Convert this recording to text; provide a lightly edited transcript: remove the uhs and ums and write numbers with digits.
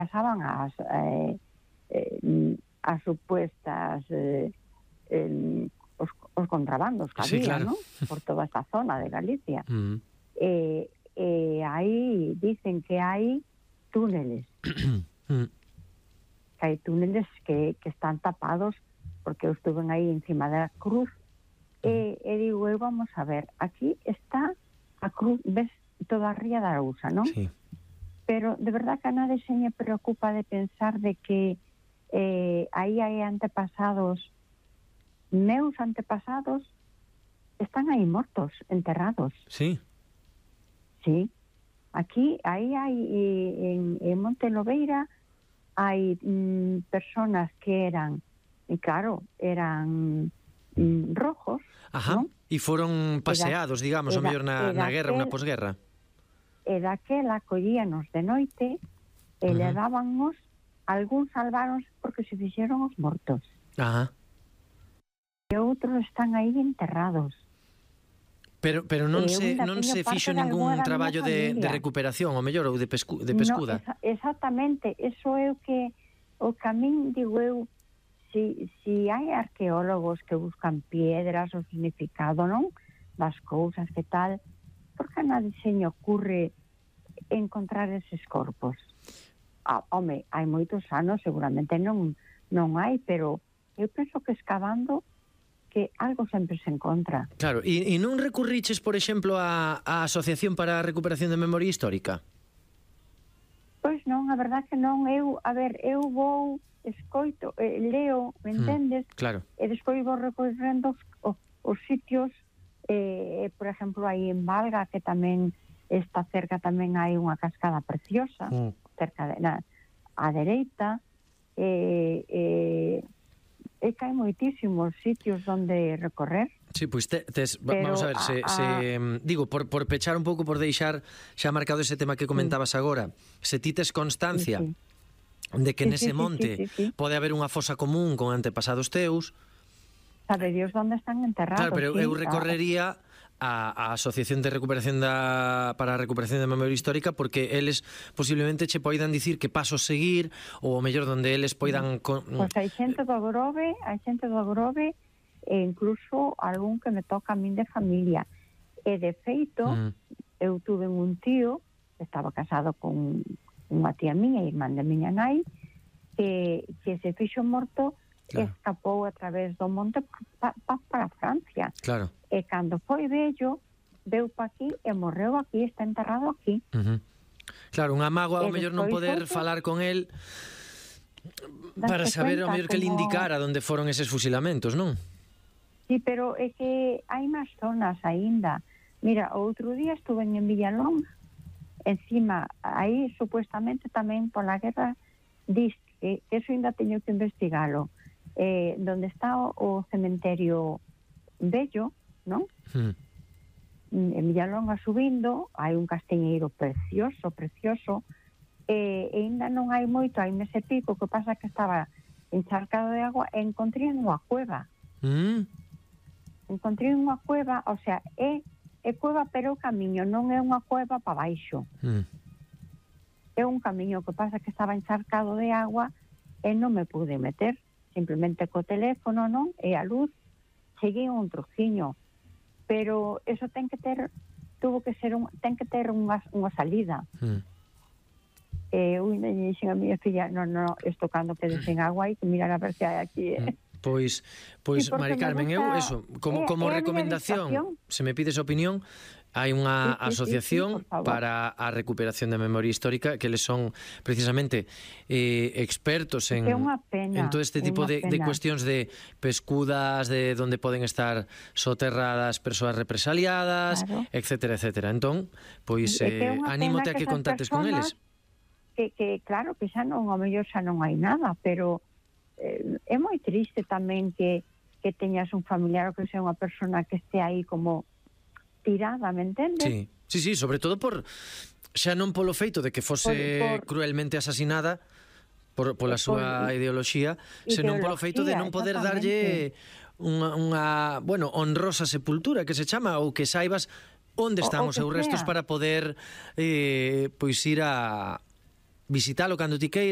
pasaban as supuestas os contrabandos que había, claro, ¿no? Por toda esta zona de Galicia. Aí dicen que hai túneles. Que hai túneles que están tapados, porque eu estuve aí encima da cruz e digo, vamos a ver, aquí está a cruz, ves toda a ría da Arousa, non? Sí. Pero de verdad que a nadie se me preocupa de pensar de que aí hai antepasados, meus antepasados están aí mortos, enterrados. Sí. Sí. Aquí, aí hai en Monte Lobeira hai personas que eran, e claro, eran rojos, Ajá, ¿no? e foron paseados, digamos, o mellor na guerra, unha posguerra. E daquela collíanos de noite e levábanos, algúns salvaron porque se fixeron os mortos. Ajá. E outros están aí enterrados. Pero non se fixo ningún traballo de recuperación, o mellor, ou de pescuda. No, exactamente, eso é o que a min digo eu, si hai arqueólogos que buscan piedras, o significado, non? Das cousas que tal, por que a nadie se me ocurre encontrar eses corpos? Home, hai moitos anos, seguramente non hai, pero eu penso que excavando que algo sempre se encontra. Claro, e non recurriches, por exemplo, á Asociación para a Recuperación de Memoria Histórica? Pois non, a verdad que non. Eu vou, escoito, leo, me entendes? Claro. E despois vou recorrendo os sitios, por exemplo, aí en Valga, que tamén está cerca, tamén hai unha cascada preciosa, cerca á dereita, que hai moitísimos sitios onde recorrer. Sí, pois vamos a ver, digo, por pechar un pouco, por deixar xa marcado ese tema que comentabas agora, se ti tes constancia de que nese monte pode haber unha fosa común con antepasados teus, sabe Dios onde están enterrados. Claro, pero eu recorrería a Asociación de Recuperación para a Recuperación da Memoria Histórica, porque eles posiblemente che poidan dicir que pasos seguir, ou o mellor donde eles poidan... Pois hai xente do Grove, e incluso algún que me toca a min de familia. E de feito, eu tuve un tío que estaba casado con unha tía miña, irmán de miña nai, que se fixo morto, escapou a través do monte para Francia. Claro. E cando foi vello, veu pa aquí e morreu aquí, está enterrado aquí. Claro, unha mágoa ao mellor non poder falar con el para saber ao mellor que le indicara onde foron eses fusilamentos, non? Sí, pero é que hai máis zonas aínda. Mira, outro día estuve en Villalón, encima, aí supuestamente tamén pola guerra, diz que eso ainda teño que investigalo, donde está o cementerio vello, non? En Villalonga subindo, hai un castiñeiro precioso, e ainda non hai moito, hai mes e pico, que pasa que estaba encharcado de agua, e encontrei unha cueva. Encontrei unha cueva, o sea, é cueva pero o camiño, non é unha cueva para baixo. É un camiño que pasa que estaba encharcado de agua e non me pude meter, simplemente co teléfono, non? E a luz, cheguei un trociño, pero eso ten que ter unha salida. Eu dixen a miña filla, non, isto cando quedes en agua hai que mirar a ver se hai aquí, Pois, Mari Carmen, eu, eso, como recomendación, se me pides opinión, hai unha asociación para a recuperación da memoria histórica, que eles son precisamente expertos en todo este tipo de cuestións de pescudas, de onde poden estar soterradas persoas represaliadas, etcétera, etcétera. Entón, pois anímote a que contactes con eles. Que claro, que xa non, ao mellor xa non hai nada, pero é moi triste tamén que teñas un familiar ou que sea unha persona que este aí como tirada, me entendes? Sí, sobre todo xa non polo feito de que fose cruelmente asasinada pola súa ideoloxía, senón polo feito de non poder darlle unha honrosa sepultura, que se chama, ou que saibas onde están os seus restos para poder pois ir a visitalo cando ti queiras.